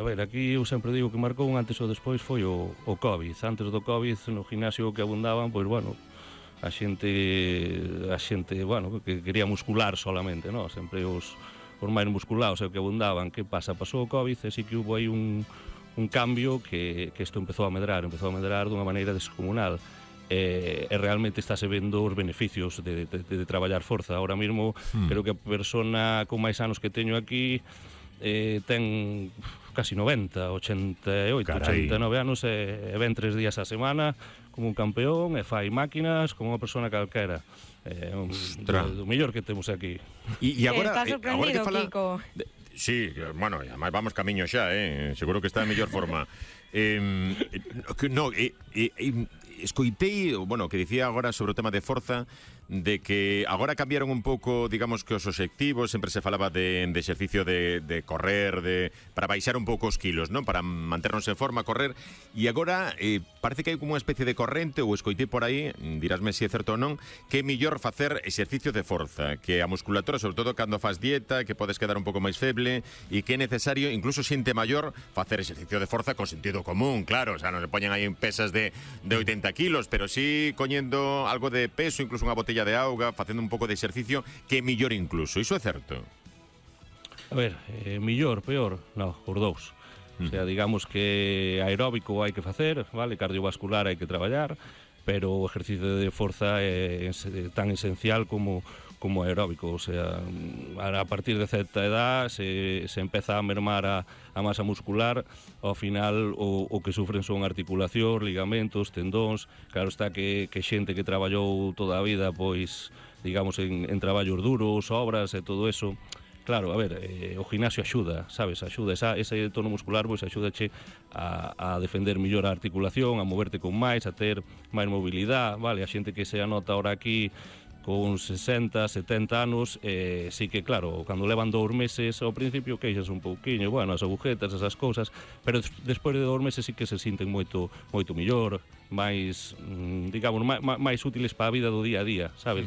ver, aquí eu sempre digo que marcou un antes ou despois foi o Covid. Antes do Covid, no gimnasio que abundaban, pois, bueno, a xente, bueno, que quería muscular solamente, non? Sempre os máis musculados é o que abundaban. Que pasa? Pasou o Covid e sí que hubo aí un cambio que isto empezou a medrar dunha maneira descomunal. E realmente estáse vendo os beneficios de traballar forza. Ahora mesmo, creo que a persona con máis anos que teño aquí ten casi 90, 88, Carai. 89 anos e ven 3 días a semana como un campeón e fai máquinas como unha persona calquera. Do mellor que temos aquí. E agora, Estás sorprendido, agora que fala... Kiko. Sí, bueno, además vamos camiño xa, seguro que está en mellor forma. Escoitei, bueno, que dicía agora sobre o tema de forza, de que agora cambiaron un pouco, digamos que os obxectivos, sempre se falaba de exercicio de correr, para baixar un pouco os kilos, non? Para manternos en forma, correr, e agora parece que hai como unha especie de corrente, ou escoitei por aí, dirásme se é certo ou non, que é mellor facer exercicio de forza, que a musculatura, sobre todo cando faz dieta, que podes quedar un pouco máis feble, e que é necesario, incluso xente maior, facer exercicio de forza con sentido común, claro, o sea, non se poñen aí pesas de 80 kilos, pero sí coñendo algo de peso, incluso unha botella de auga, facendo un pouco de exercicio, que é mellor incluso. Iso é certo? A ver, mellor, peor, non, os dous. O sea, digamos que aeróbico hai que facer, vale, cardiovascular hai que traballar, pero o exercicio de forza é tan esencial como aeróbico. O sea, a partir de certa edad se empeza a mermar a masa muscular. Ao final o que sufren son articulacións, ligamentos, tendóns. Claro está que xente que traballou toda a vida, pois, digamos, en traballos duros, obras e todo eso. Claro, a ver, o gimnasio axuda, sabes, axuda, ese tono muscular, pois axúdache a defender mellor a articulación, a moverte con máis, a ter máis mobilidade, vale, a xente que se anota ahora aquí con 60, 70 anos, sí que, claro, cando levan 2 meses ao principio queixas un pouquiño, bueno, as agujetas, esas cousas, pero despois de 2 meses sí que se sinten moito mellor, máis, digamos, máis útiles para a vida do día a día, sabes?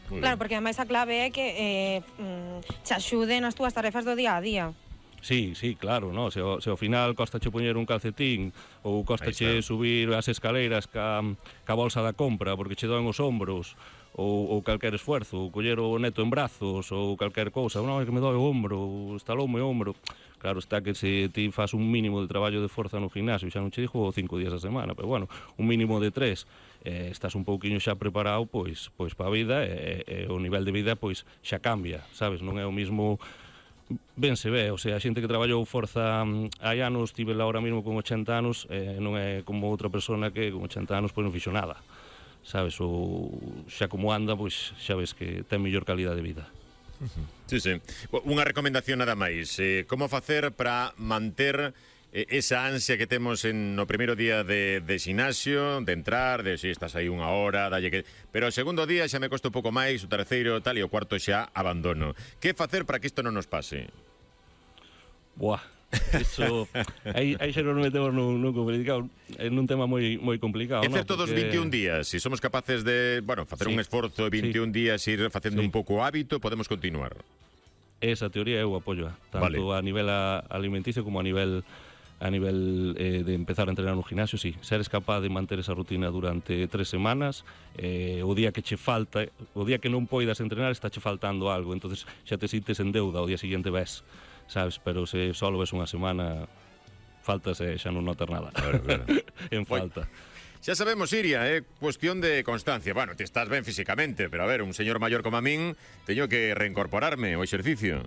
Claro, porque ademais a clave é que te axude nas túas tarefas do día a día. Sí, claro, no? Se ao final costache poñer un calcetín ou costache subir as escaleiras ca bolsa da compra porque che doen os ombros ou calquer esfuerzo, ou coller o neto en brazos ou calquer cousa, non, é que me doi o ombro, estaloume o ombro. Claro está que se ti faz un mínimo de traballo de forza no gimnasio, xa non che dixo 5 días a semana, pero bueno, un mínimo de 3, estás un pouquiño xa preparado pois para a vida e o nivel de vida pois xa cambia, sabes? Non é o mismo. Ben se ve, o sea, a xente que traballou forza hai anos, tive ahora mesmo con 80 anos, non é como outra persona que con 80 anos pois non fixo nada, sabes? Ou xa como anda, pois xa ves que ten mellor calidad de vida. Sí. Unha recomendación nada máis, como facer para manter esa ansia que temos no primeiro día de ximnasio, de entrar, de si estás aí unha hora, dalle que... Pero o segundo día xa me costa un pouco máis, o terceiro tal, e o cuarto xa abandono. Que facer para que isto non nos pase? Buah, iso... aí xa nos metemos nun tema moi complicado. É certo dos 21 días, se somos capaces de, bueno, facer un esforzo de 21 días e ir facendo un pouco hábito, podemos continuar. Esa teoría eu apoio, tanto a nivel alimenticio como a nivel de empezar a entrenar no gimnasio, sí. Seres capaz de manter esa rutina durante 3 semanas, o día que che falta, o día que non poidas entrenar, está che faltando algo, entonces xa te sintes en deuda, o día seguinte ves, sabes, pero se solo ves unha semana, faltas e xa non notas nada. Claro. En falta. Xa sabemos, Iria, é cuestión de constancia. Bueno, ti estás ben físicamente, pero a ver, un señor maior como a min, teño que reincorporarme ao exercicio.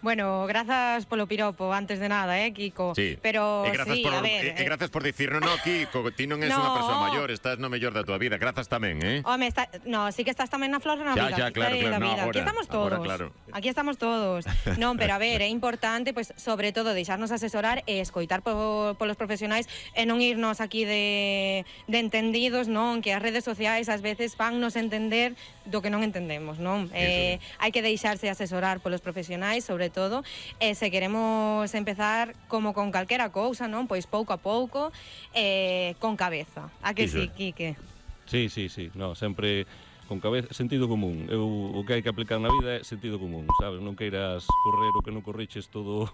Bueno, grazas polo piropo, antes de nada, Kiko? Sí. Pero sí, a ver... grazas por dicir, no, Kiko, ti non és unha persoa maior, estás no mellor da tua vida. Grazas tamén, Home, sí que estás tamén na flor da vida. Ya, claro, no, aquí estamos todos. Claro. Aquí estamos todos. Non, pero a ver, é importante, pues, sobre todo, deixarnos asesorar e escoitar polos profesionais e non irnos aquí de entendidos, non? Que as redes sociais ás veces fannos entender do que non entendemos, non? Hai que deixarse asesorar polos profesionais, sobre todo, e se queremos empezar como con calquera cousa, non? Pois pouco a pouco, con cabeza. A que sí, Quique? Sí, no, sempre con cabeza, sentido común. O que hai que aplicar na vida é sentido común, sabes? Non queiras correr o que non corriches todo